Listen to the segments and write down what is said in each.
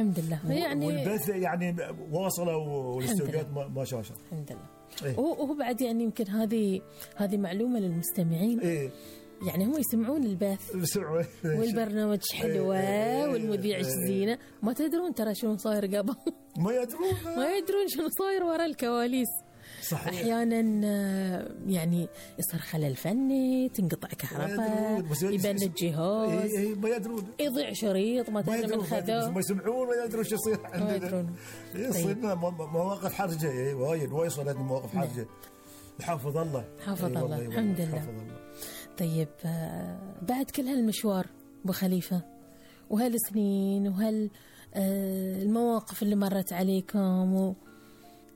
الحمد لله. يعني والبث يعني واصله والاستوديوهات ما شاء الله. الحمد لله. وهو بعد يعني يمكن هذه معلومة للمستمعين. يعني هم يسمعون البث والبرنامج حلوة والمذيع زينة، ما تدرون ترى شنو صاير قبل. ما يدرون شنو صاير وراء الكواليس. صحيح. أحيانا يعني يصير خلل فني، تنقطع كهرباء، يبند جهاز، ما يدرون، يضيع شريط ما تدري من خذوه، ما يسمعون، ما يدرون شو يصير عندنا. يصيرنا مواقف حرجة وايد صارت مواقف حرجة. حافظ الله الحمد لله. طيب بعد كل هالمشوار أبو خليفة وهالسنين المواقف اللي مرت عليكم،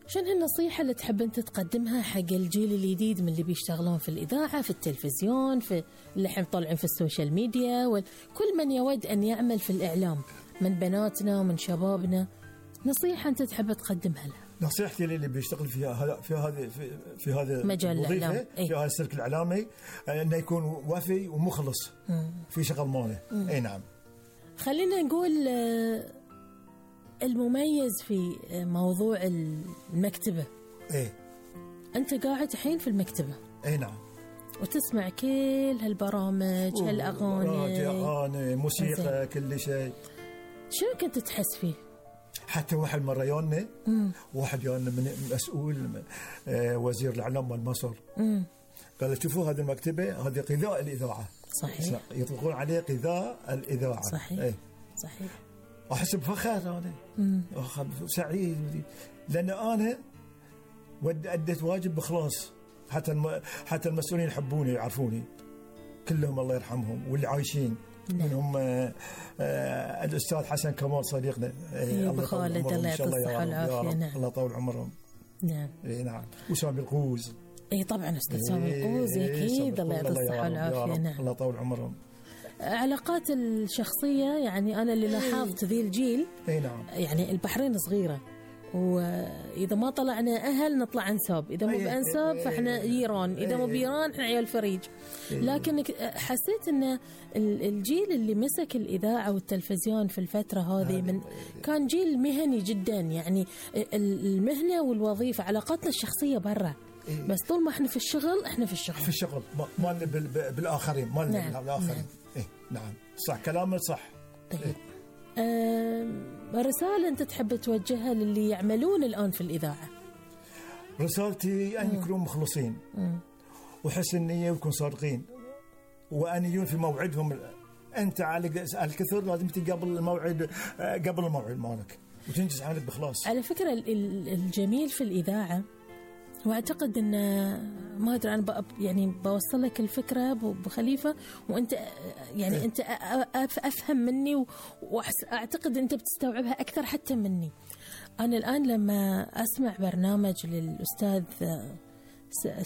شنو النصيحة اللي تحب أنت تقدمها حق الجيل الجديد من اللي بيشتغلون في الإذاعة، في التلفزيون، في اللي حين طالعين في السوشيال ميديا، وكل من يود أن يعمل في الإعلام من بناتنا ومن شبابنا، نصيحة أنت تحب تقدمها له؟ نصيحتي اللي بيشتغل في هذا مجال الإعلام، في هذا السلك الإعلامي، أنه يكون وفي ومخلص في شغل ماله. أي نعم. خلينا نقول المميز في موضوع المكتبة. أنت قاعد الحين في المكتبة. نعم. وتسمع كل هالبرامج، هالأغاني، موسيقى، كل شيء. شنو كنت تحس فيه؟ حتى واحد يونا من مسؤول وزير الإعلام مال مصر قال شوفوا هذه المكتبة هذه غذاء الإذاعة. صحيح. يطلقون عليه غذاء الإذاعة. صحيح. صحيح. أحس بفخر أنا، سعيد، لأن أنا أديت واجب بخلاص. حتى المسؤولين يحبوني يعرفوني كلهم الله يرحمهم، واللي عايشين منهم الأستاذ حسن كمال صديقنا، بخالد الله يعطيه الصحة والعافية. نعم. الله يطول عمرهم. نعم. نعم. وسامي القوز. طبعا أستاذ سامي القوز أكيد الله يعطيه الصحة والعافية. نعم. الله يطول عمرهم. علاقات الشخصية يعني أنا اللي لاحظت ذي الجيل. نعم. يعني البحرين صغيرة، وإذا ما طلعنا أهل نطلع أنساب، إذا مو بأنساب فإحنا جيران، إذا مو بجيران إحنا عيال فريج. لكن حسيت أن الجيل اللي مسك الإذاعة والتلفزيون في الفترة هذه كان جيل مهني جدا. يعني المهنة والوظيفة، علاقاتنا الشخصية برا، بس طول ما إحنا في الشغل إحنا في الشغل ما بالآخرين، ما بالآخرين. نعم. صح كلامك صح. طيب. رسالة أنت تحب توجهها للي يعملون الآن في الإذاعة؟ رسالتي أن يكونوا مخلصين وحسن النية ويكونوا صادقين وأن يجون في موعدهم. أنت على الكثر لازم تيجي قبل الموعد مالك وتنجز حالك بخلاص. على فكرة الجميل في الإذاعة، وأعتقد أن ما أدري أنا يعني بوصل لك الفكرة أبو خليفة، وأنت يعني أنت أفهم مني، وأعتقد أنت بتستوعبها أكثر حتى مني. أنا الآن لما أسمع برنامج للأستاذ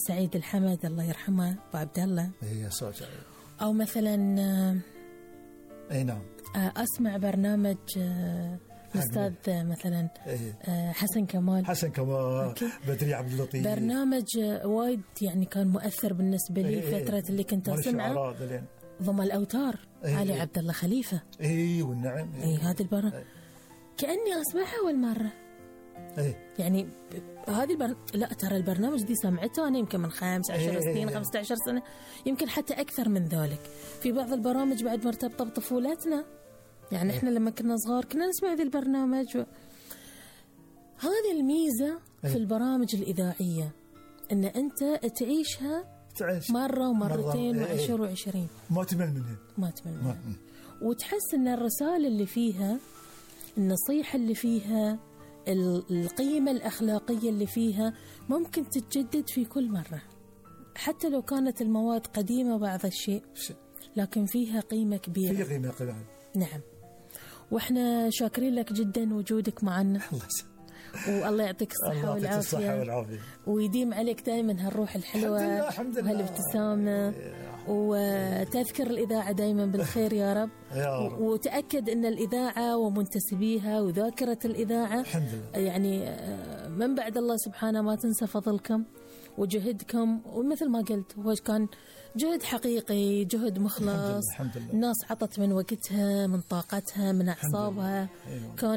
سعيد الحمد الله يرحمه أبو عبد الله، أو مثلا نعم أسمع برنامج أستاذ مثلا حسن كمال بدري عبد اللطيف، برنامج وايد يعني كان مؤثر بالنسبة لي فترة اللي كنت أسمعه، ضم الأوتار علي عبد الله خليفة. والنعم. هذا البرنامج كأني أسمعها أول مرة. يعني هذه لا ترى البرنامج دي سمعته أنا يمكن من 15 سنين 15 سنة، يمكن حتى أكثر من ذلك. في بعض البرامج بعد مرتبطة بطفولتنا، يعني إحنا لما كنا صغار كنا نسمع ذي البرنامج هذه الميزة في البرامج الإذاعية، إن أنت تعيشها مرة ومرتين وعشر وعشرين، ما تمل منها. وتحس إن الرسالة اللي فيها، النصيحة اللي فيها، القيمة الأخلاقية اللي فيها ممكن تتجدد في كل مرة، حتى لو كانت المواد قديمة بعض الشيء، لكن فيها قيمة كبيرة. فيها قيمة كبيرة. نعم. وإحنا شاكرين لك جدا وجودك معنا، والله يعطيك الصحة والعافية، ويديم عليك دائما هالروح الحلوة وهالابتسامة، وتذكر الإذاعة دائما بالخير يا رب. وتأكد أن الإذاعة ومنتسبيها وذاكرة الإذاعة يعني من بعد الله سبحانه ما تنسى فضلكم وجهدكم، ومثل ما قلت هو كان جهد حقيقي، جهد مخلص. الناس عطت من وقتها، من طاقتها، من أعصابها. كان